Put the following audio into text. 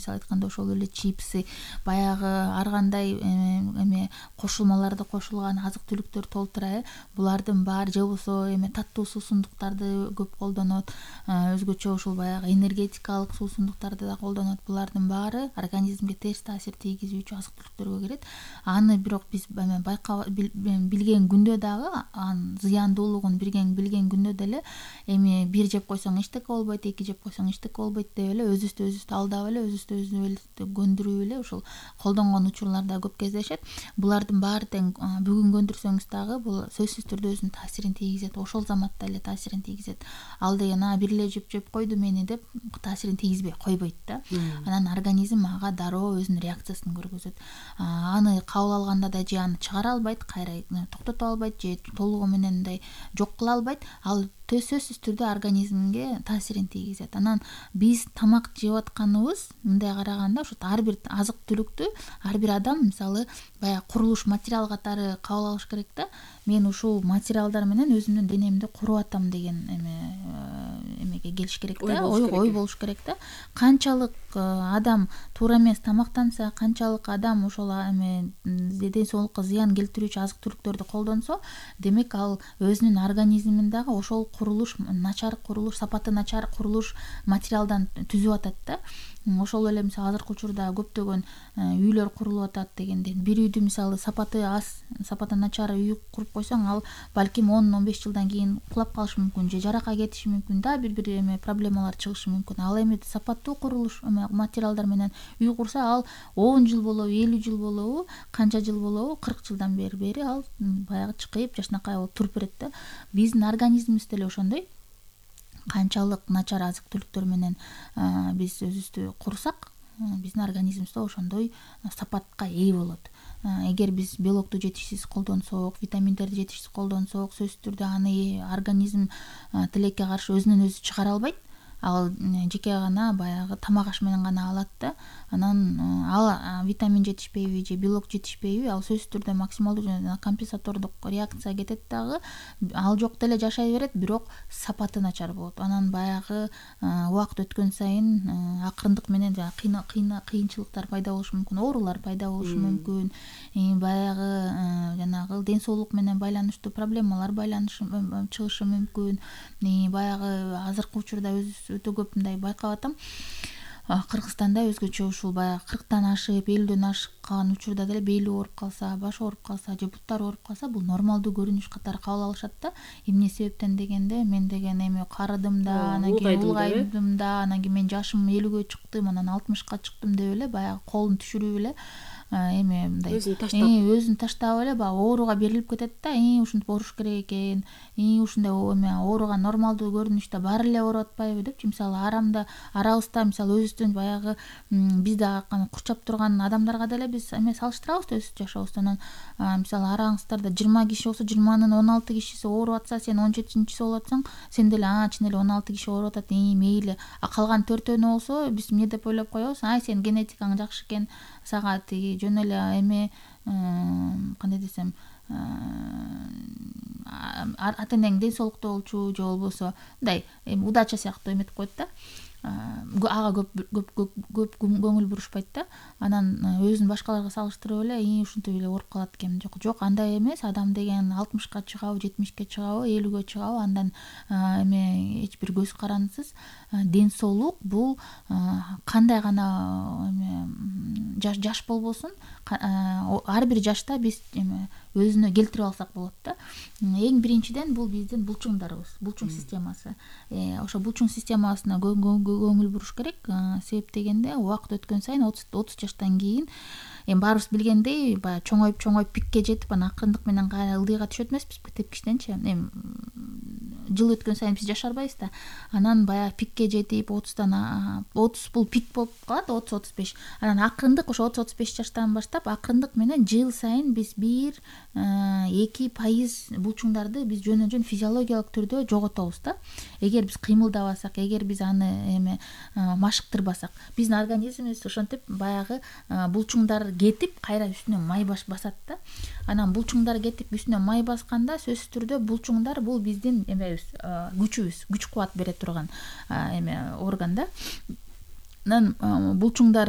мисалы айтканда ошол эле чипсы, баягы ар кандай эме кошулмаларды кошулган азык түлүктөр толтура, булардын баары же болбосо таттуу суусундуктарды көп колдонот, өзгөчө ушул баягы энергетикалык суусундуктарды да колдонот. Булардын баары организмге терс таасир тийгизүүчү азык түлүктөргө кирет. Аны бирок биз билген күндө дагы анын зыяндуулугун билген күндө деле бир жеп койсоң эчтеке болбойт, эки жеп койсоң эчтеке болбойт деп эле өзүбүздү алдап эле өзүбүздү көндүрүп эле ушул колдонгон учурлар да көп кездешет. Булардын баары тең бүгүн көндүрсөңүз дагы бул сөзсүз түрдө өзүнүн таасирин тийгизет, ошол заматта эле таасирин тийгизет. Ал деген бир эле жеп койду мени деп таасирин тийгизбей койбойт да. Анан организм ага дароо өзүнүн реакциясын көргөзөт. Аны кабыл алганда да же аны чыгара албайт, кайра токтото албайт, же толугу менен мындай жок кыла албайт. Ал сөзсүз түрдө организмге таасирин тийгизет. Анан биз тамак жеп атканыбыз мындай караганда ошо ар бир азык түлүктү ар бир адам мисалы баягы курулуш материал катары кабыл алыш керек да. Мен ушул материалдар менен өзүмдүн денемди куруп атам деген эмеге келиш керек да, ой болуш керек да. Канчалык адам туура эмес тамактанса, канчалык адам ошол ден соолукка зыян келтирүүчү азык түлүктөрдү колдонсо, демек ал өзүнүн организмин дагы ошол курулуш, начар курулуш, сапаты начар курулуш материалдан түзүп атат да. Ошол эле мисалы азыркы учурда көптөгөн үйлөр курулуп атат дегенден, бир үйдү мисалы сапаты аз, сапаты начар үй куруп койсоң, ал балким 10-15 жылдан кийин кулап калышы мүмкүн, же жаракка кетиши мүмкүн да, бир проблемалар чыгышы мүмкүн. Ал сапаттуу курулуш материалдар менен үй курса, ал 10 жыл болобу, 50 жыл болобу, канча жыл болобу, 40 жылдан бери ал баягы чыкайып жашынакай болуп туруп берет да. Биздин организмибиз деле ошондой. Канчалык начар азык түлүктөр менен биз өзүбүздү курсак, биздин организмибиз да ошондой сапатка ээ болот. Эгер биз белокту жетишсиз колдонсок, витаминдерди жетишсиз колдонсок, сөзсүз түрдө аны организм тилекке каршы өзүнөн өзү чыгара албайт. Ал жеке гана баягы тамак аш менен гана алат да. Анан ал витамин жетишпейби же белок жетишпейби, ал сөзсүз түрдө максималдуу компенсатордук реакция кетет дагы. Ал жок деле жашай берет, бирок сапаты начар болот. Анан баягы убакыт өткөн сайын акырындык менен кыйынчылыктар пайда болушу мүмкүн, оорулар пайда болушу мүмкүн. Баягы жанагы ден соолук менен байланыштуу проблемалар чыгышы мүмкүн. Баягы азыркы учурда өтө көп мындай байкап атам. Кыргызстанда өзгөчө ушул баягы 40-тан ашып, 50дөн ашкан учурда деле бели ооруп калса, баш ооруп калса, же буттары ооруп калса, бул нормалдуу көрүнүш катары кабыл алышат да. Эмне себептен дегенде, мен деген карыдым да, анан кийин улгайдым да, анан кийин мен жашым 50гө чыктым, анан 60ка чыктым деп эле баягы колун түшүрүп эле мындай өзүн таштап эле баягы ооруга берилип кетет да. Ушинтип ооруш керек экен, ушундай ооруган нормалдуу көрүнүштө баары эле ооруп атпайбы депчи. Мисалы арабызда мисалы өзүбүздүн баягы биз да курчап турган адамдарга деле биз салыштырабыз өз жашообузду. Анан мисалы араңыздарда 20 киши болсо, 20-нын 16 кишиси ооруп атса, сен 17-чиси ооруп атсаң, сен деле чын эле 16 киши ооруп атат, мейли. Калган 4-өнү болсо, биз эмне деп ойлоп коебуз? Сен генетикаң жакшы экен, сага жөн эле кандай десем, ата энең ден соолуктуу болчу, же болбосо мындай удача сыяктуу эметип коет да. Ага көп көңүл бурушпайт да. Анан өзүн башкаларга салыштырып эле ушинтип эле ооруп калат экен. Жок, андай эмес. Адам деген 60ка чыгабы, 70ке чыгабы, 50гө чыгабы, андан эч бир көз карандысыз. Ден соолук бул кандай гана жаш болбосун, ар бир жашта биз өзүнө келтирип алсак болот да. Эң биринчиден бул биздин булчуңдарыбыз, булчуң системасы. Ошо булчуң системасына көңүл буруш керек. Себеп дегенде, убакыт өткөн сайын 30 жаштан кийин баарыбыз билгендей, баягы чоңоюп пикке жетип, анан акырындык менен ылдыйга түшөт эмеспизби, тепкичтенчи. Жыл өткөн сайын биз жашарбайбыз да. Анан баягы пикке жетип, 30 бул пик болуп калат, 30-35. Анан акырындык ошо 30-35 жаштан баштап акырындык менен жыл сайын биз 1-2% булчуңдарды биз жөн физиологиялык түрдө жоготобуз да. Эгер биз кыймылдабасак, эгер биз аны машыктырбасак, биздин организмибиз ошентип баягы булчуңдар кетип, кайра үстүнө май басат да. Анан булчуңдар кетип үстүнө май басканда, сөзсүз түрдө булчуңдар бул биздин күчүбүз, күч кубат бере турган орган да. Анан булчуңдар